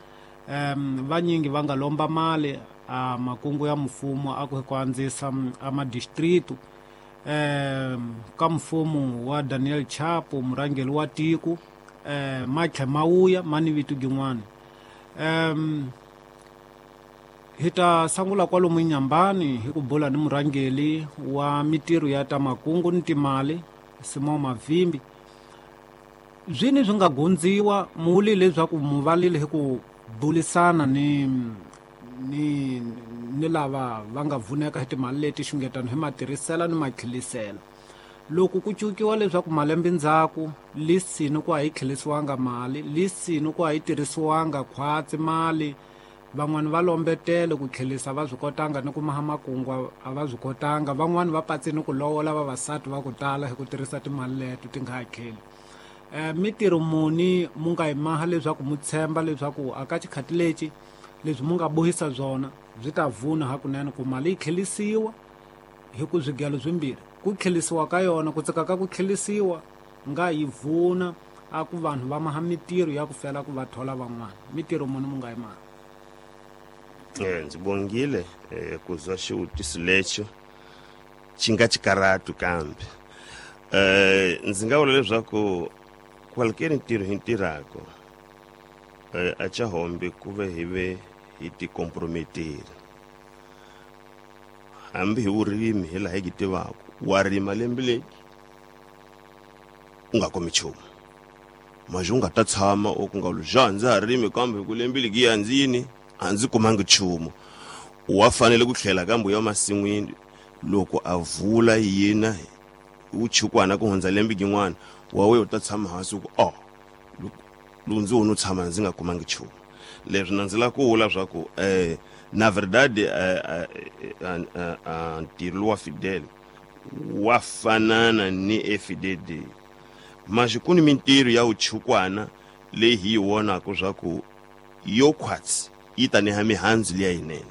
Um vanyingi va nga lomba mali a makungu ya mfumo a ku ku andzisa a madistritu. Um ka mfumo wa Daniel Chapo murhangeri wa tiko um ma tlhe ma wuya ma ni vito gin'wana. Um hi ta sungula kwalomu Inhambane hi ku bula ni murhangeri wa mitirho ya ta makungu ni timali Simon Mavimbi. Zwini swi nga gondziwa muli leswaku mu valile hi ku bulisana ni ni ni lava va nga vuneka hi timali leti xungetano hi matirhisela ni matlhelisela. Loko ku cukiwa leswaku malembe ndzhaku lisini ku a yi tlhelisiwanga mali lisini ku a yi tirhisiwanga khwatsi mali van'wani va lombetele ku tlhelisa va swi kotanga ni ku maha makungu a va swi kotanga van'wani va patsini ku lovola vavasati va ku tala hi ku tirhisa timali leto ti nga hakeli. Eh mitirho muni mu nga yi maha leswaku mu tshemba leswaku a ka xikhati lexi leswi mu nga bohisa byona byi ta vuna hakunene ku mali yi tlhelisiwa hi ku swigelo swimbirhi ku tlhelisiwa ka yona ku tsaka ka ku tlhelisiwa nga yi vuna a ku vanhu va maha mitirho ya ku fela ku va thola van'wana mitirho muni mu nga yi maha. Eh ndzi bongile eh ku zwa xivutiso lexo xi nga xikaratu kambe eh ndzi nga vula leswaku qualquer ntirho hi ntirhako eh a cha hombe ku ve hi ve hi ti comprometera hambi hi vurimi hi laha hi tivaka wa rima lembe leri u nga kumi nchumu mas u nga ta tshama u ku nga lu ndza ha rimi kambe ku lembe legi ya ndzi yini a ndzi kumangi nchumu wa fanele ku tlhela kambe ya masin'wini loko a vula yina u chukwana ku hundza lembe gin'wana wa we u ta tshama hansi ku oh loko ndzi wona u tshama ndzi nga kumangi nchumu. Leswi na ndzi lava ku vula swa ku eh na verdade ntirho wa Fidel wa fanana ni F D D mas ku ni mintirho ya vuchukwana leyi hi yi vonaka swa ku yo khwatsi yi ta neha mihandzu liya yinene.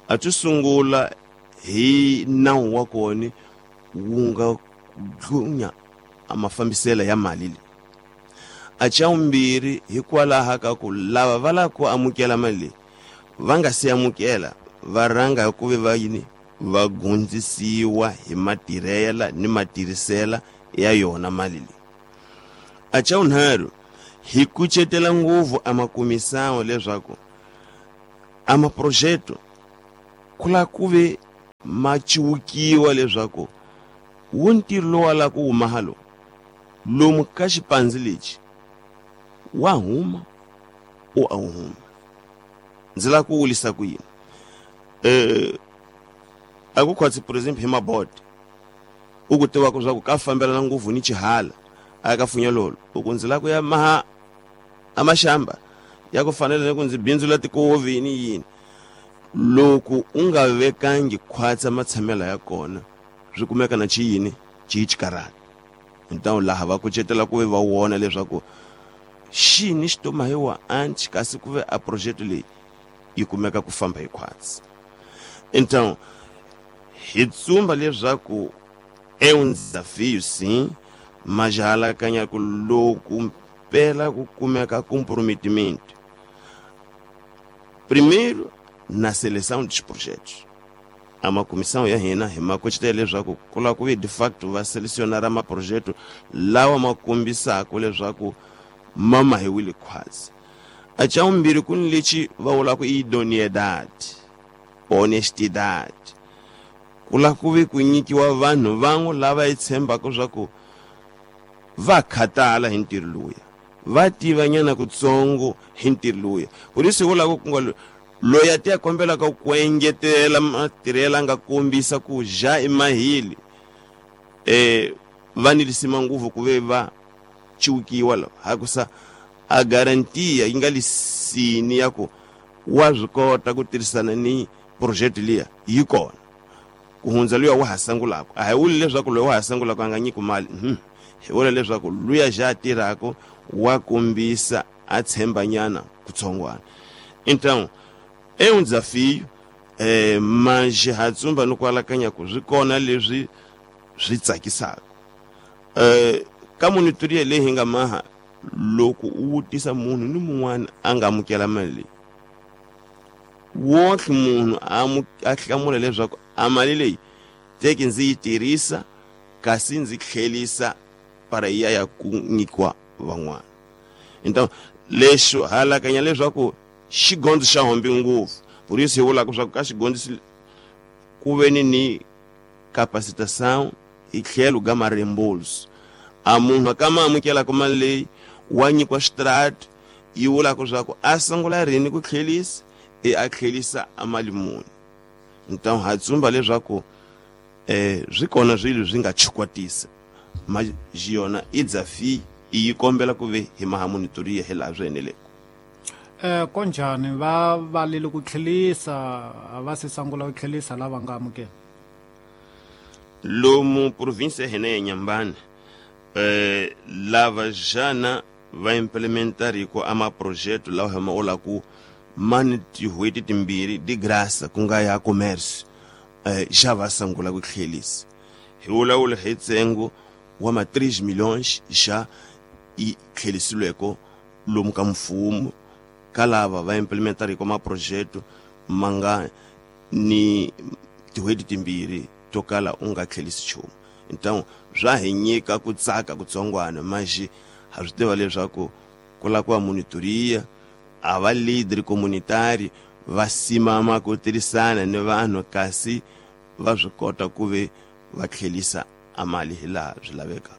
A ti sungula hi nawu wa kona wu nga dlunya a mafambiselo ya mali leyi. A xa vumbirhi hikwalaho ka ku lava va lava ku amukela mali leyi va nga si amukela va rhanga hi ku ve va yini va gundzisiwa hi matirhela ni matirhisela ya yona mali leyi. A xa vunharhu hi kucetela ngopfu a makumisawo leswaku a maprojeto ku la ku ve ma ciwukiwa leswaku wu ntirho lowu la ku huma halo lomu ka xipandzi lexi wa huma o a wu huma. Ndzi lava ku wulisa ku yini? Eh a ku khwatsi por exemple hi mabodi u ku tivaka swa ku ka fambelana ngopfu ni xihala a ka funyalolo u ku ndzi lava ku ya maha a maxamba ya ku fanele ni ku ndzi bindzula tikovi ni yini. Loko u nga vekangi khwatsa matshamelo ya kona swi kumeka na xiyini xi xikarhata. Então laha va kucetela ku ve va wona leswaku xini xi tomahiwa anti kasi ku ve a project leyi yi kumeka ku famba hi khwatsi. Então hi tsumba leswaku é um desafio sim, mas halakanya ku loku mpela ku kumeka comprometimento primeiro na seleção dos projetos. A uma comissão ya hina hi makucetela leswaku ku lava ku ve de facto va selecionar maprojeto lawa ma kombisaka leswaku ma mahiwile khwatsi. A xa vumbirhi ku ni lexi va vulaka idoneidade, honestidade. Ku lava ku ve ku nyikiwa vanhu van'we lava hi tshembaka swa ku va khatala hi ntirho luya, va tiva nyana kutsongo hi ntirho luya. Por isso vulaka ku nga loyi a ti ya kombelaka ku engetela matirhelo a nga kombisa ku ja emahili eh va ni lisima ngopfu ku ve va ciwukiwa la hakusa a garantia yi nga lisini ya ku wa swi kota ku tirhisana ni project liya yi kona ku hundza luya wa ha sangulaka. A hi vuli leswaku loyi wa ha sangulaka a nga nyiki mali, hi vula leswaku luya ja tirhaka wa kombisa a tshembanyana kutsongwana. Então é um desafio, eh, mas ha tsumba no kwalakanya ku swi kona leswi swi tsakisaka. Eh, ka monitoria leyi hi nga maha loko u vutisa munhu ni mun'wana a nga amukela mali leyi, wonke munhu a hlamula leswaku a mali leyi teki ndzi yi tirhisa kasi ndzi tlhelisa para ya ya ku nyikiwa van'wana. Então lexo halakanya leswaku xigondzo xa hombi ngopfu, por isso hi vulaka swa ku ka xigondzo ku ve ni ni capacitação hi tlhelo ga mareembolso. A munhu ka ma amukelaka mali leyi wa nyikiwa xitrati yi vulaka swa ku a sungula rini ku tlhelisa e a tlhelisa a mali muni. Então ha tsumba leswaku eh swi kona swilo swi nga chikwatisa ma yona i desafio yi kombela ku ve hi maha monitoria hi laha swi eneleke. Eh konjhani va valile ku tlhelisa va se sungula ku tlhelisa lava nga amukela? Lomu província hina ya Inhambane eh lava jana va implementariko a maprojeto lawa hi ma vulaku mani tin'hweti timbirhi de graça ku nga ya commerce eh xa va sungula ku tlhelisa. Hi vulavula hi ntsengo wa ma três milhões xa yi tlhelisiweke lomu ka mfumo ka lava va implementariko maprojeto ma nga ni tin'hweti timbirhi to kala u nga tlhelisi nchumu. Então swa hi nyika ku tsaka kutsongwana, mas ha swi tiva leswaku ku lava ku va monitoria a va leader communitary va simama ku tirhisana ni vanhu kasi va swi kota ku ve va tlhelisa a mali hi laha swi lavekaka.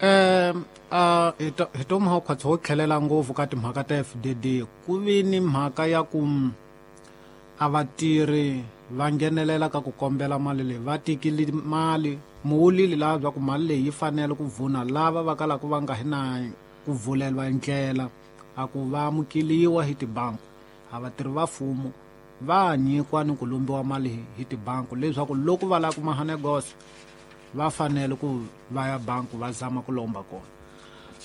Eh a hi to mha khwatsi ho tlhelela ngopfu ka timhaka ta F D D ku vi ni mhaka ya ku a vatirhi va nghenelela ka ku kombela mali leyi va tekile mali muwulile laha bya ku mali leyi yi fanele ku vuna lava va kalaka va nga hi na ku vulelwa ndlela a ku va amukeliwa hi tibanku. A vatirhi va mfumo va nyikiwa ni ku lombiwa mali hi tibanku leswaku loko va lava ku maha negosi va fanele ku va ya banku va zama ku lomba kona.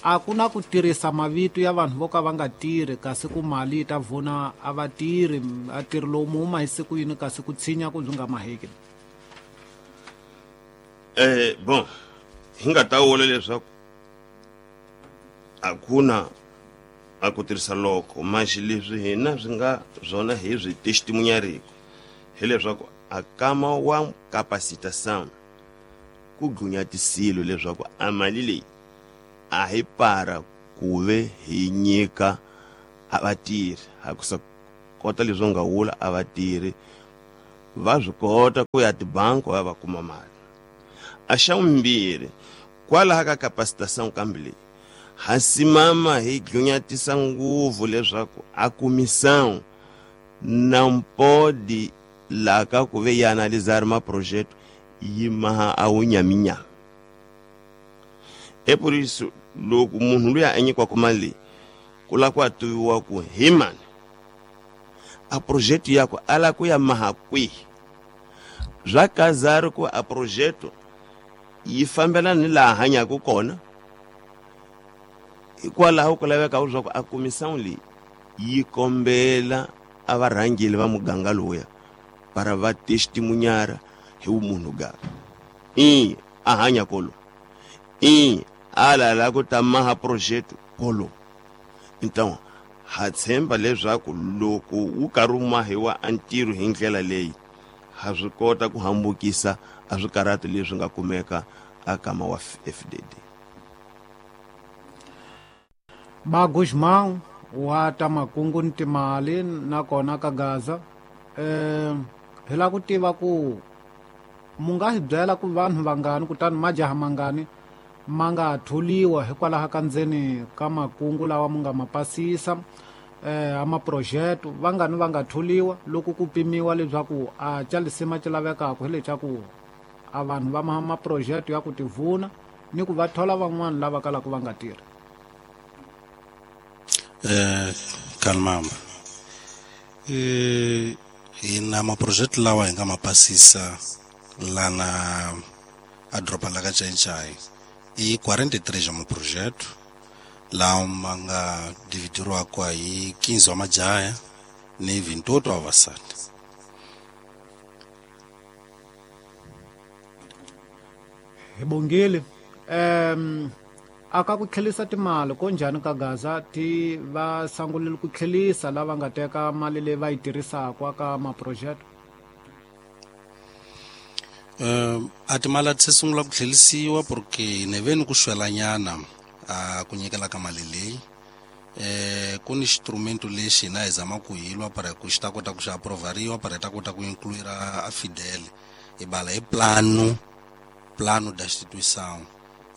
A ku na ku tirhisa mavito ya vanhu vo ka va nga tirhi kasi ku mali yi ta vuna a va tirhi a tirhi lowu mu huma hi siku yini kasi ku tshinya ku byi nga maheki. Eh bon hi nga ta vula leswaku a ku na a ku tirhisa loko mas leswi hina swi nga swona hi swi testimunhariko hileswaku a kama wa capacitação ku gunyatisile leswaku a mali leyi a hi para ku ve hi nyika a vatirhi ha ku sa kota leswi nga wula a vatirhi va swi kota ku ya tibangi va va kuma mali. A xa vumbirhi kwalaha ka capacitação kambe leyi ha simama hi gunyatisa ngopfu leswaku a comissão não pode lá ka ku ve ya analisar ma projeto yi maha a wu nyaminyami. É por isso loko munhu luya a nyikiwaka mali leyi ku lava ku a tiviwa ku hi mani a projeto yakwe a lava ku ya maha kwihi. Swa kazari ku a projeto yi fambelana ni laha hanyaka kona, hikwalaho ku laveka leswaku a comissão leyi yi kombela a varhangeli va muganga lowuya para va testemunhar hi vumunhu ga i a hanya kolo i a lava ku ta maha projeto kolo. Então ha tshemba leswaku loko wu karhi wu mahiwa a ntirho hi ndlela leyi ha swi kota ku hambukisa a swikarhati leswi nga kumeka a kama wa F D D. Ba Guzmão wa ta makungu ni timali nakona ka Gaza eh hi lava ku tiva ku mu nga hi byela ku vanhu vangani kutani majaha mangani ma nga tholiwa hikwalaho ka ndzeni ka makungu lawa mu nga ma pasisa eh a maprojeto vangani va nga tholiwa loko ku pimiwa leswaku a ca lisima ci lavekaka hi leswaku a vanhu va ma maprojeto ya ku tivuna ni ku va thola van'wana lava kalaka va nga tirhi. Eh kalmamba eh hi na maprojeto lawa hi nga ma pasisa lana a doroba la ka Xai-Xai i quarenta e três ya maprojeto lawa ma nga dividiriwaka hi quinze wa majaha ni vinte e oito wa vavasati. Hi bongile um aka ku tlhelisa timali ko njhani ka Gaza ti va sangulile ku tlhelisa lava nga teka mali leyi va yi tirhisaka ka maprojeto? Um a timali a ti se sungula ku tlhelisiwa porque ni ve ni ku xwelanyana a ku nyikela ka mali leyi. Eh ku ni xinstrumento lexi hina hi zama ku hi lwa para ku xi ta kota ku xi aprovariwa para hi ta kota ku incluir a Fidel hi bala hi plano plano da instituição.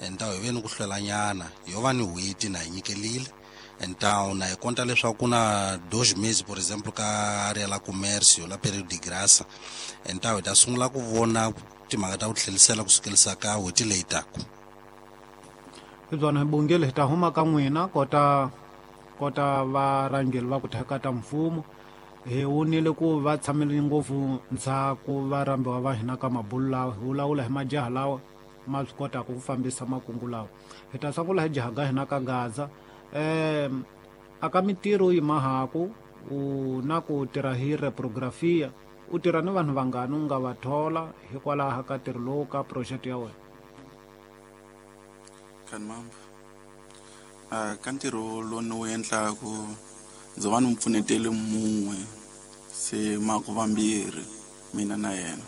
Então hi ve ni ku hlwelanyana yo va ni n'hweti na hi nyikelile. Então na hi konta leswaku ku na dois meses por exemplo ka área la comércio la período de graça. Então hi ta sungula ku vona timhaka ta ku tlhelisela ku sukelisa ka n'hweti leyi taka. Hi byona hi bongile hi ta huma ka n'wina kota kota varhangeli va ku theka ta mfumo hi wonile ku va tshamile ngopfu ndzhaku va rhambiwa va hina ka mabulu lawa hi vulavula hi majaha lawa ma swi kotaka ku fambisa makungu lawa. Hi ta sungula hi jaha ga hina ka Gaza um aka mitirho yi mahaku u na ku tirha hi reprografia u tirha ni vanhu vangani u nga va thola hikwalaho ka ntirho lowu ka project ya wena? Kanmamba a ka ntirho lowu ni wu endlaku ndzi va ni mu pfunetele mun'we se mako vambirhi mina na yena.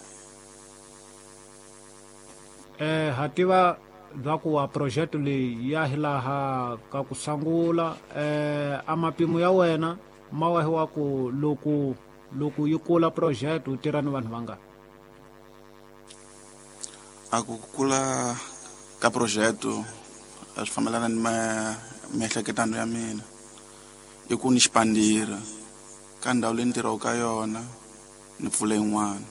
Eh ha tiva bya ku wa project leyi ya hi laha ka ku sungula eh a mapimo ya wena ma wahiwa ku loko loko yi kula project u tirha ni vanhu vangani? A ku kula ka project a swi fambelana ni miehleketano ya mina i ku ni xipandira ka ndhawu leyi ni tirhaka ka yona ni pfula yin'wana.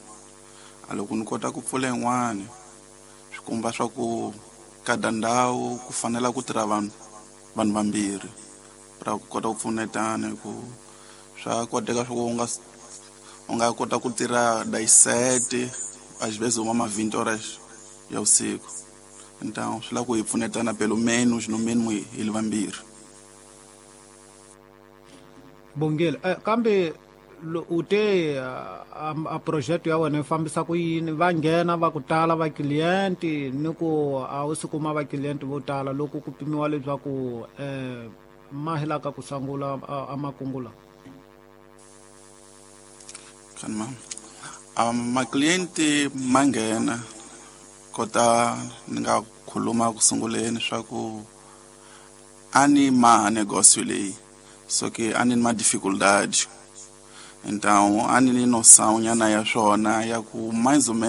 A loko ni kota ku pfula yin'wana swi komba swa ku kada ndhawu ku fanela ku tirha vanhu vanhu vambirhi ra ku kota ku pfunetana hi ku swa koteka swa ku u nga u nga kota ku tirha dix-sept às vezes uma ma vinte horas ya usiku. Então swi lava ku hi pfunetana pelo menos no mínimo hi li vambirhi. Bongile eh, kambe u te a, a project ya wena yi fambisa ku yini? Va nghena va ku tala va client ni ku a wu si kuma va client vo tala loko ku pimiwa leswaku eh ma hi laka ku sungula a makungu lawa? Kanma a ma client ma nghena Kota ni nga khuluma ku sunguleni swa ku a ni maha negócio leyi, so que a ni ni ma dificuldade, então a ni ni noção nyana ya swona ya ku mais ou menos.